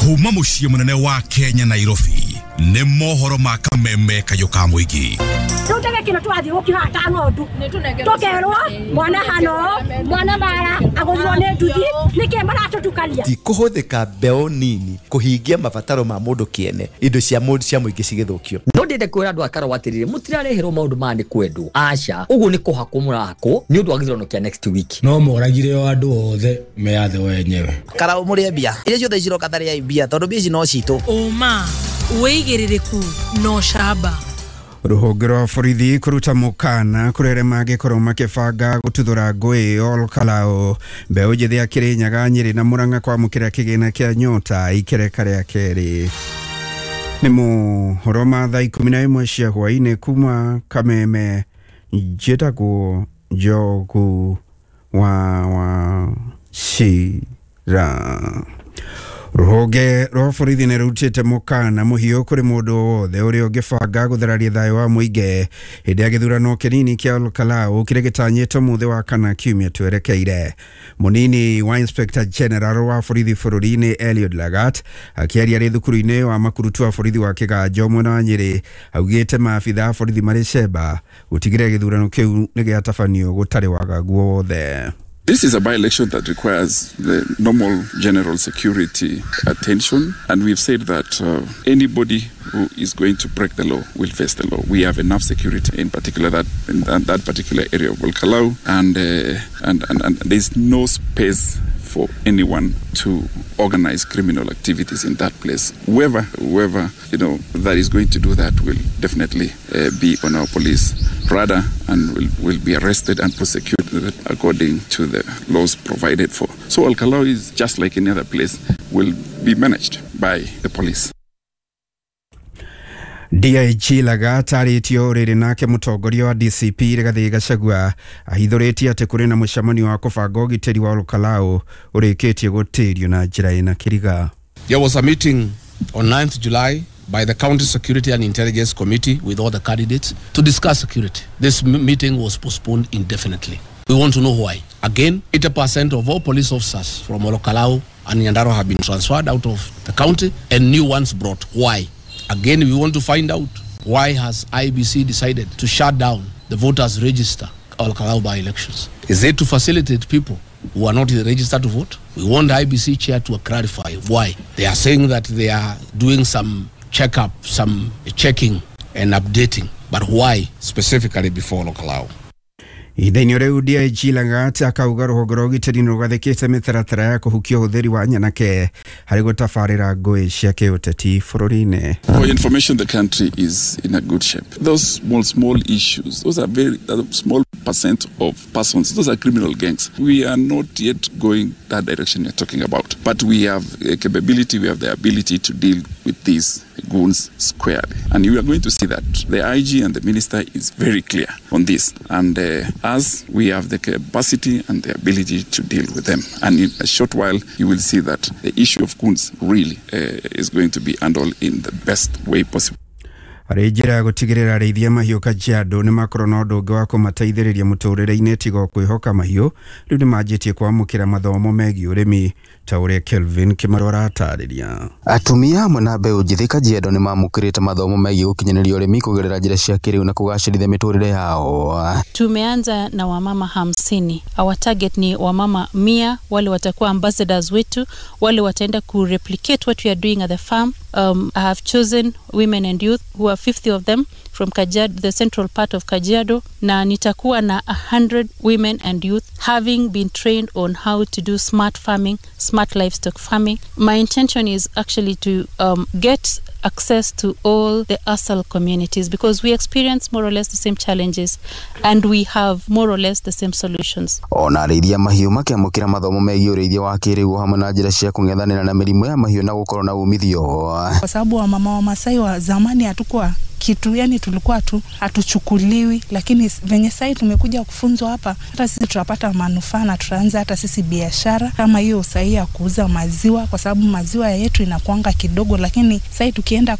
Kuma muciĩ mũnene wa Kenya Nairobi nĩ mohoro ma kameme kayũ ka mũingĩ. Rĩu kino twathi gũkĩhata ng'ondu tũkerwo mwana hano mwana mara agũthirwo nĩ nduthi nĩkĩ maratũtukania. Ti kũhũthĩka mbeũ nini kũhingia mabataro ma mũndũ kĩene, indo cia mũndũ cia mũingĩ cigĩthũkio. No ndĩende kwĩra andũ a Karau atĩrĩrĩ, mũtirareherwo maũndũ maya nĩ kwendwo, aca, ũguo nĩ kũhakwo mũrahakwo nĩ ũndũ wa gĩthurano kĩa next week. No moragire o andũ othe meyathe wenyewe. Karau mũrĩe mbia iria ciothe ciroka tarĩai mbia tondũ mbia ici no citũ. Ũma wĩigĩrĩrĩku no camba. Rũhonge rwa borithi kũruta mũkana kũrĩ arĩa mangĩkorwo makĩbanga gũtuthũra ngũĩ Ol Kalou. Mbeũ njĩthĩ ya Kĩrĩnyaga, Nyĩrĩ na Mũrang'a kwamũkĩra kĩgĩna kĩa Nyota ikereka rĩa kerĩ. Nĩ mohoro ma thaa 11 cia hwaĩ-inĩ kuma Kameme. Njĩtagwo Njogu wa Wachira. Rũhonge rwa borithi nĩ rũrutĩte mũkana mũhiũ kũrĩ mũndũ wothe ũrĩa ũngĩbanga gũthararia thayũ wa mũingĩ hĩndĩ ya gĩthurano kĩnini kĩa Ol Kalou kĩrĩa gĩtanyĩtwo mũthĩ wa kana kiumia twerekeire. Mũnini wa Inspector General wa borithi bũrũri-inĩ Eliud Lagat akĩaria arĩ thukuru-inĩ wa makurutu wa borithi wa Kĩganjo mwena wa Nyĩrĩ augĩte maabitha a borithi marĩ cemba gũtigĩrĩra gĩthurano kĩu nĩ gĩatabanio gũtarĩ wagagu o wothe. This is a by-election that requires the normal general security attention, and we've said that anybody who is going to break the law will face the law. We have enough security, in particular that in that particular area of Ol Kalou, and there's no space for anyone to organize criminal activities in that place. Whoever you know that is going to do that will definitely be on our police radar and will be arrested and prosecuted according to the laws provided for. So Ol Kalou is just like any other place, will be managed by the police. DIG Lagat arĩtio rĩrĩ nake mũtongoria wa DCP Rigathĩ Gachagua ahithũrĩtie atĩ kũrĩ na mũcemanio wa kũbanga ũgitĩri wa Ol Kalou ũrĩkĩtie gũtĩrio na njĩra ĩna kĩriga. There was a meeting on 9th July by the County Security and Intelligence Committee with all the candidates to discuss security. This meeting was postponed indefinitely. We want to know why. Again, 80% of all police officers from Ol Kalou and Nyandarua have been transferred out of the county and new ones brought. Why? Again, we want to find out why has IBC decided to shut down the voters register Ol Kalou by-elections. Is it to facilitate people who are not registered to vote? We want the IBC chair to clarify why. They are saying that they are doing some checkup, some checking and updating, but why specifically before Ol Kalou? Ihinda-inĩ rĩu DIG Lagat akauga rũhonge rwa ũgitĩri nĩ rũgathĩkĩte mĩtaratara ya kũhukia ũhũthĩri wa nyanake harĩ gũtabarĩra ngũĩ cia kĩũteti bũrũri-inĩ. For information, the country is in a good shape. Those small issues, those are very small percent of persons, those are criminal gangs. We are not yet going that direction you're talking about, but we have a capability, we have the ability to deal with these goons squarely. And you are going to see that the IG and the minister is very clear on this. And as we have the capacity and the ability to deal with them. And in a short while, you will see that the issue of goons really is going to be handled in the best way possible. Harĩ njĩra ya gũtigĩrĩra arĩithia mahiũ Kajiado nĩ makorwo na ũndũ ũngĩ wa kũmateithĩrĩria mũtũrĩre-inĩ tiga o kwĩhoka mahiũ, rĩu nĩ manjĩtie kwamũkĩra mathomo megiĩ ũrĩmi ta ũrĩa Kelvin Kĩmarũ aratarĩria. Atumia hamwe na mbeũ njĩthĩ Kajiado nĩ mamũkĩrĩte mathomo megiĩ gũkinyanĩria ũrĩmi kũgerera njĩra cia kĩrĩu na kũgacĩrithia mĩtũrĩre yao. Tumeanza na wamama 50. Our target ni wamama 100 wale watakuwa ambassadors wetu, wale wataenda ku replicate what we are doing at the farm. I have chosen women and youth who are 50 of them from Kajiado, the central part of Kajiado, na nitakuwa na 100 women and youth having been trained on how to do smart farming, smart livestock farming. My intention is actually to get access to all the ASAL communities because we experience more or less the same challenges and we have more or less the same solutions. Ona arĩithia mahiũ makĩamũkĩra mathomo megiĩ ũrĩithia wa kĩrĩu hamwe na njĩra cia kũng'ethanĩra na mĩrimũ ya mahiũ na gũkorwo na umithio. Kwa sababu wamama wa Masai wa zamani hatukuwa kitu, yani tulikuwa tu hatuchukuliwi, lakini venye sasa tumekuja kufunzwa hapa, hata sisi tutapata manufaa na tutaanza hata sisi biashara kama hiyo sahihi ya kuuza maziwa, kwa sababu maziwa yetu inakuanga kidogo, lakini sasa tukienda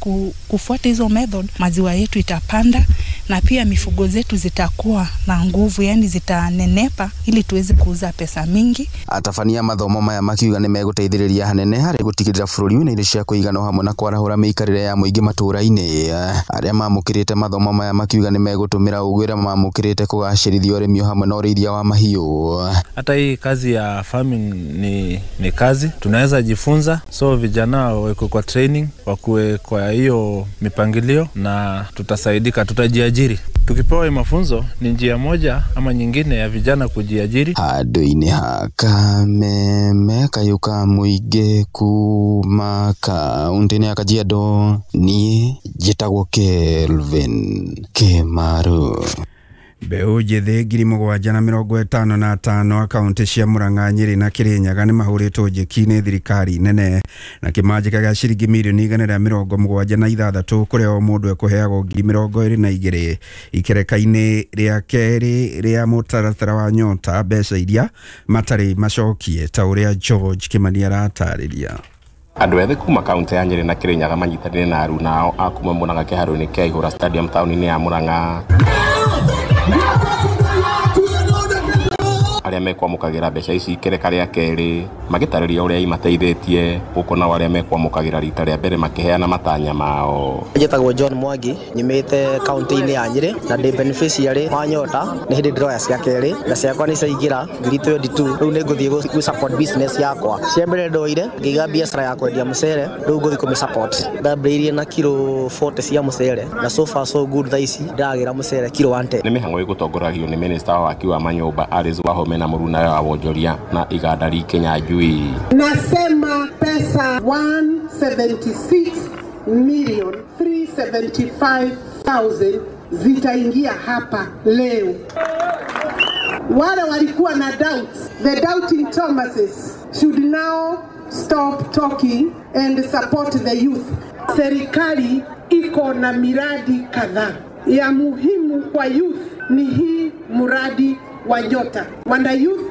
kufuata hizo method maziwa yetu itapanda na pia mifugo zetu zitakuwa na nguvu, yani zitanenepa ili tuweze kuuza pesa mingi. Atabania mathomo maya makiuga nĩ megũteithĩrĩria hanene harĩ gũtigĩrĩra bũrũri wĩna irio cia kũigana o hamwe na kwarahũra mĩikarĩre ya mũingĩ matũũra-inĩ. Arĩa mamũkĩrĩte mathomo maya makiuga nĩ megũtũmĩra ũgĩ ũrĩa mamũkĩrĩte kũgacĩrithia ũrĩmi o hamwe na ũrĩithia wa mahiũ. Hata hii kazi ya farming ni kazi tunaweza jifunza, so vijana wawekwe kwa training, wakuwe kwa hiyo mipangilio na tutasaidika, tutajiajiri. Tukipewa mafunzo ni njia moja ama nyingine ya vijana kujiajiri. Handũ-inĩ ha Kameme kayũ ka mũingĩ kuma kaũntĩ-inĩ ya Kajiado, niĩ njĩtagwo Kelvin Kĩmaru. Mbeũ njĩthĩ 7,055 akaunti cia Murang'a, Nyĩrĩ na Kĩrĩnyaga nĩ mahũrĩtwo njeki nĩ thirikari nene na kĩmanjĩka gĩa ciringi mirioni 176 kũrĩa o mũndũ ekũheagwo 22,000 ikereka-inĩ rĩa kerĩ rĩa mũtaratara wa Nyota, mbeca iria matarĩ macokie ta ũrĩa George Kĩmani aratarĩria. Andũ ethĩ kuma kaunti ya Nyĩrĩ na Kĩrĩnyaga manyitanĩire na aruna ao a kuma Murang'a kĩharo-inĩ kĩa Ihũra Stadium taũni-inĩ ya Murang'a. Arĩa mekwamũkagĩra mbeca ici ikereka rĩa kerĩ magĩtarĩria ũrĩa imateithĩtie, gũkũ nao arĩa mekwamũkagĩra rita rĩa mbere makĩheana matanya mao. Njĩtagwo John Mwangi, nyumĩte kaunti-inĩ ya Nyĩrĩ na ndĩ beneficiary wa Nyota. Nĩ hĩndĩ ndĩroya cia kerĩ na ciakwa nĩ ciaingĩra 22,000. Rĩu nĩ ngũthiĩ gũ support business yakwa. Cia mbere ndoire ngĩiga biacara ya kwendia mũcere, rĩu ngũthiĩ kũmĩ support. Ndambĩrĩirie na kiro 40 cia mũcere na so far so good, thaa ici ndĩragĩra mũcere kiro 110. Nĩ mĩhang'o ĩgũtongoragio nĩ minista wa waki wa manyũmba Alice Wahome na mũrunawe wa wonjoria na igandari Kinyanjui. Nasema pesa 176,375,000 zitaingia hapa leo. Wale walikuwa na doubts, the doubting Thomases should now stop talking and support the youth. Serikali iko na miradi kadhaa ya muhimu kwa youth, ni hii mradi wa Nyota. Wana youth,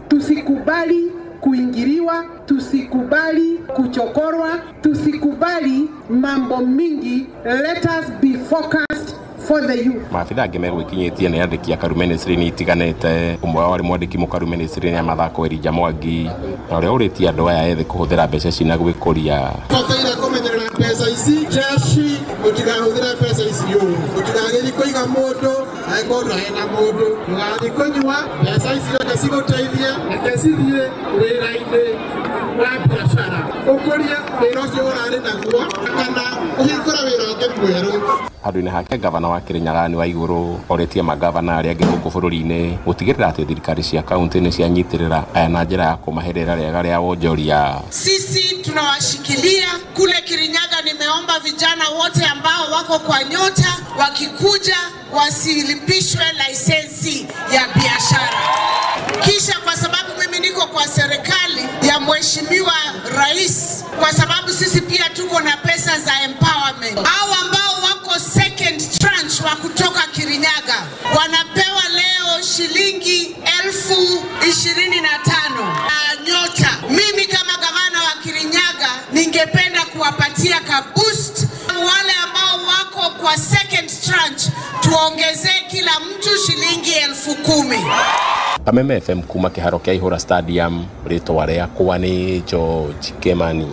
tusikubali kuingiliwa, tusikubali kuchokorwa, tusikubali mambo mingi. Let us be focused for the youth. Maabitha angĩ megwĩkinyĩtie nĩ andĩki a Karu ministry-inĩ itiganĩte. Ũmwe wao arĩ mwandĩki mũkaru ministry-inĩ ya mathako Elijah Mwangi, na ũrĩa ũrĩtie andũ aya ethĩ kũhũthĩra mbeca ici na gwĩkũria. Bataire kũmenyerera mbeca ici, jeshi mũtikahũthĩre mbeca ici ũru, mũtikagĩthiĩ kũiga mũndũ angĩkorwo ndũrĩ na mũndũ, ndũgathiĩ kũnyua mbeca ici, reke cigũteithie, reke cithiĩ wĩra-inĩ wa biacara, ũkũrie wĩra ũcio ũrarĩ naguo kana ũhingũre wĩra ũngĩ mwerũ. Handũ-inĩ hake gavana wa Kĩrĩnyaga nĩ Waigũrũ orĩtie magavana arĩa angĩ gũkũ bũrũri-inĩ gũtigĩrĩra atĩ thirikari cia kaunti nĩ cianyitĩrĩra aya na njĩra ya kũmahe rĩera rĩega rĩa wonjoria. Sisi tunawashikilia kule Kirinyaga. Nimeomba vijana wote ambao wako kwa Nyota wakikuja wasilipishwe lisensi ya biashara. Kisha kwa sababu mimi niko kwa serikali ya Mheshimiwa Rais, kwa sababu sisi pia tuko na pesa za empowerment, hao ambao wako second tranche wa kutoka Kirinyaga wanapewa leo shilingi 25,000 na Nyota. Mimi kama gavana wa Kirinyaga ningependa kuwapatia ka boost wale ambao wako kwa second tranche, tuongezee kila mtu shilingi 10,000. Kameme FM kuma kĩharo kĩa Ihũra Stadium, rĩtwa rĩakwa nĩ George Kĩmani.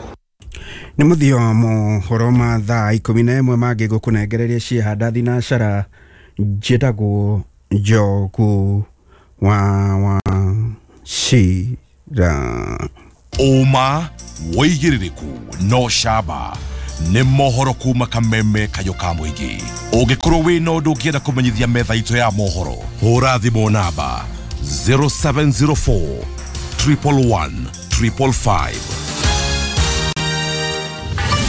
Nĩ mũthio wa mohoro ma thaa 11 mangĩ ngũkũnengereria ciĩhanda thinacara. Njĩtagwo Njogu wa Wachira. Ũma wĩigĩrĩrĩku no camba nĩ mohoro kuma Kameme kayũ ka mũingĩ. Ũngĩkorwo wĩna ũndũ ũngĩenda kũmenyithia metha itũ ya mohoro, hũra thimũ namba 0704 111 555.